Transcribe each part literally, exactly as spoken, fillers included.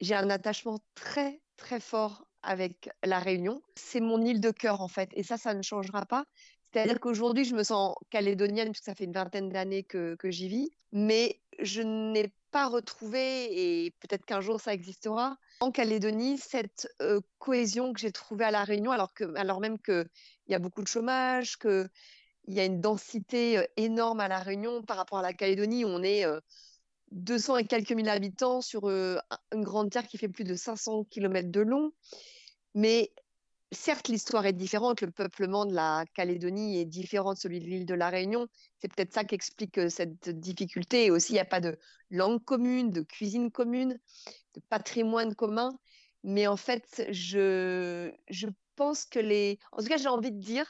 j'ai un attachement très, très fort avec La Réunion. C'est mon île de cœur, en fait, et ça, ça ne changera pas. C'est-à-dire qu'aujourd'hui, je me sens calédonienne, puisque ça fait une vingtaine d'années que, que j'y vis, mais je n'ai pas retrouvé, et peut-être qu'un jour ça existera, en Calédonie, cette euh, cohésion que j'ai trouvée à La Réunion, alors, que, alors même qu'il y a beaucoup de chômage, qu'il y a une densité euh, énorme à La Réunion par rapport à la Calédonie, où on est euh, deux cents et quelques mille habitants sur euh, une grande terre qui fait plus de cinq cents kilomètres de long. Mais certes, l'histoire est différente, le peuplement de la Calédonie est différent de celui de l'île de la Réunion. C'est peut-être ça qui explique euh, cette difficulté. Et aussi, il n'y a pas de langue commune, de cuisine commune, de patrimoine commun. Mais en fait, je, je pense que les... En tout cas, j'ai envie de dire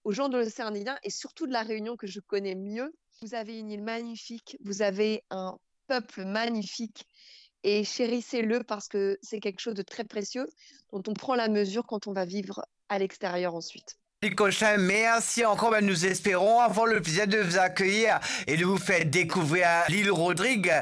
aux gens de l'océan Indien et surtout de la Réunion que je connais mieux, vous avez une île magnifique, vous avez un peuple magnifique et chérissez-le parce que c'est quelque chose de très précieux dont on prend la mesure quand on va vivre à l'extérieur ensuite. Licochin, merci encore. Ben, nous espérons avoir le plaisir de vous accueillir et de vous faire découvrir l'île Rodrigue,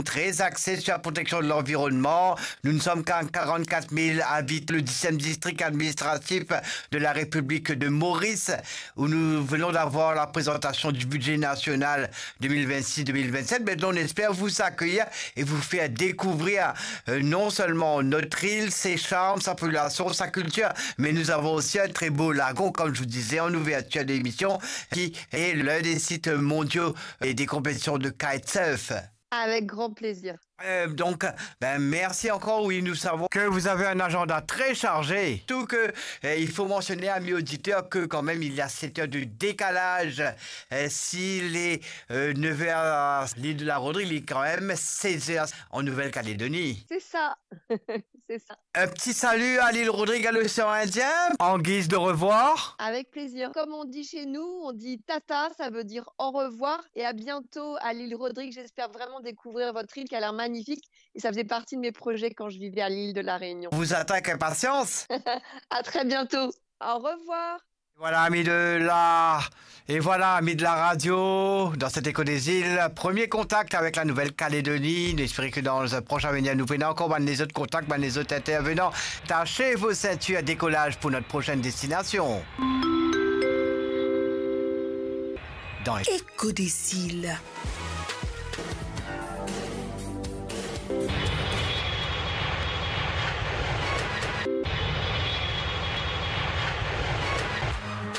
très axée sur la protection de l'environnement. Nous ne sommes qu'à quarante-quatre mille habitants, le dixième district administratif de la République de Maurice, où nous venons d'avoir la présentation du budget national deux mille vingt-six deux mille vingt-sept. Maintenant, on espère vous accueillir et vous faire découvrir euh, non seulement notre île, ses charmes, sa population, sa culture, mais nous avons aussi un très beau lagon, comme je vous disais en ouverture d'émission, qui est l'un des sites mondiaux et des compétitions de kitesurf. Avec grand plaisir. Euh, donc, ben, merci encore. Oui, nous savons que vous avez un agenda très chargé. Tout que, euh, il faut mentionner, amis auditeurs, que quand même, il y a sept heures de décalage. Euh, s'il est euh, neuf heures à l'île de la Rodrigue, il est quand même seize heures en Nouvelle-Calédonie. C'est ça. C'est ça. Un petit salut à l'île Rodrigue, à l'océan Indien, en guise de revoir. Avec plaisir. Comme on dit chez nous, on dit tata, ça veut dire au revoir et à bientôt à l'île Rodrigue. J'espère vraiment découvrir votre île qui a l'air magnifique et ça faisait partie de mes projets quand je vivais à l'île de la Réunion. Vous attends avec impatience. À très bientôt. Au revoir. Voilà, amis de la, et voilà, amis de la radio, dans cet Écho des Îles, premier contact avec la Nouvelle-Calédonie. Nous espérons que dans un prochain avenir, nous prenons encore ben, les autres contacts, ben, les autres intervenants. Tachez vos ceintures, décollage pour notre prochaine destination. Dans Écho des Îles.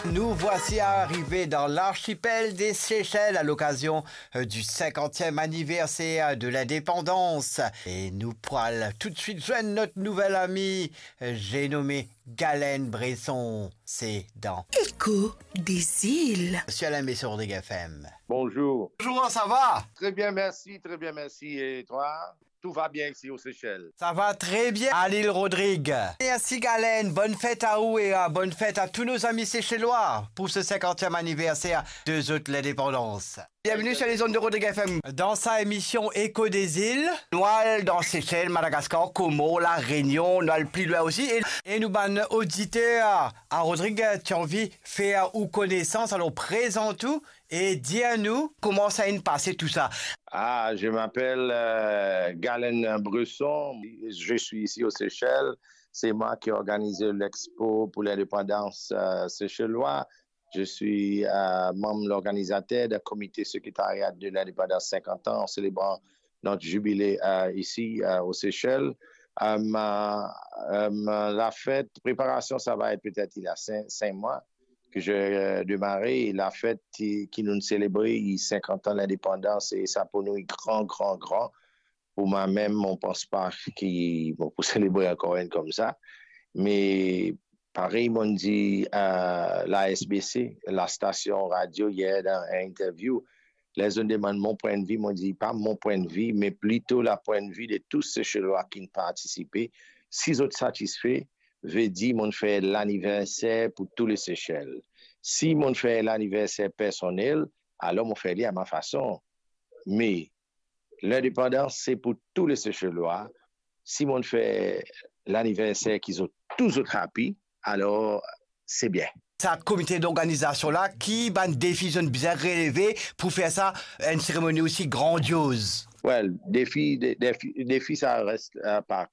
Nous voici arrivés dans l'archipel des Seychelles à l'occasion euh, du cinquantième anniversaire de l'indépendance. Et nous pourrons tout de suite joindre notre nouvel ami, euh, j'ai nommé Galen Bresson. C'est dans Écho des Îles. Monsieur Alain Messi, Rodrigue F M. Bonjour. Bonjour, ça va ? Très bien, merci, très bien, merci. Et toi ? Tout va bien ici aux Seychelles. Ça va très bien à l'île Rodrigue. Merci Galen, bonne fête à vous et euh, bonne fête à tous nos amis seychellois pour ce cinquantième anniversaire de zot l'indépendance. Bienvenue sur les ondes de Rodrigue F M. Dans sa émission Écho des Îles, nou al dan Seychelles, Madagascar, Comores, La Réunion, nou al pli lwin osi. E, e nou bann oditer, a Rodrigue, ti anvi fer ou konesans, alor prezant ou e dir nou kouma sa inn pase tousa. Ah, je m'appelle euh, Galen Bresson. Je suis ici aux Seychelles. C'est moi qui organise l'expo pour l'indépendance euh, seychelloise. Je suis euh, membre organisateur du comité secrétariat de l'indépendance cinquante ans en célébrant notre jubilé euh, ici euh, aux Seychelles. Euh, ma- euh, ma- la fête, préparation, ça va être peut-être il y a cinq, cinq mois que j'ai euh, démarré. Et la fête qui, qui nous célébrons cinquante ans d'indépendance, et ça pour nous est grand, grand, grand. Pour moi-même, on pense pas qu'il bon, pour célébrer encore une comme ça. Mais pareil, on dit euh, la S B C, la station radio, hier dans une interview, les gens demandent mon point de vue, on dit pas mon point de vue, mais plutôt le point de vue de tous ces Seychellois qui ont participé. Si vous êtes satisfait, veut dire mon fait l'anniversaire pour tous les Seychelles. Si mon fait l'anniversaire personnel, alors mon fait à ma façon. Mais l'indépendance, c'est pour tous les Seychellois. Si mon fait l'anniversaire qu'ils ont tous happy, alors c'est bien. Sa komite d'organizasyon la, ki bann defi zot inn bizin releve pou fer sa, enn seremoni osi grandioz? Well, defi, de-, defi, defi sa res, euh, partou.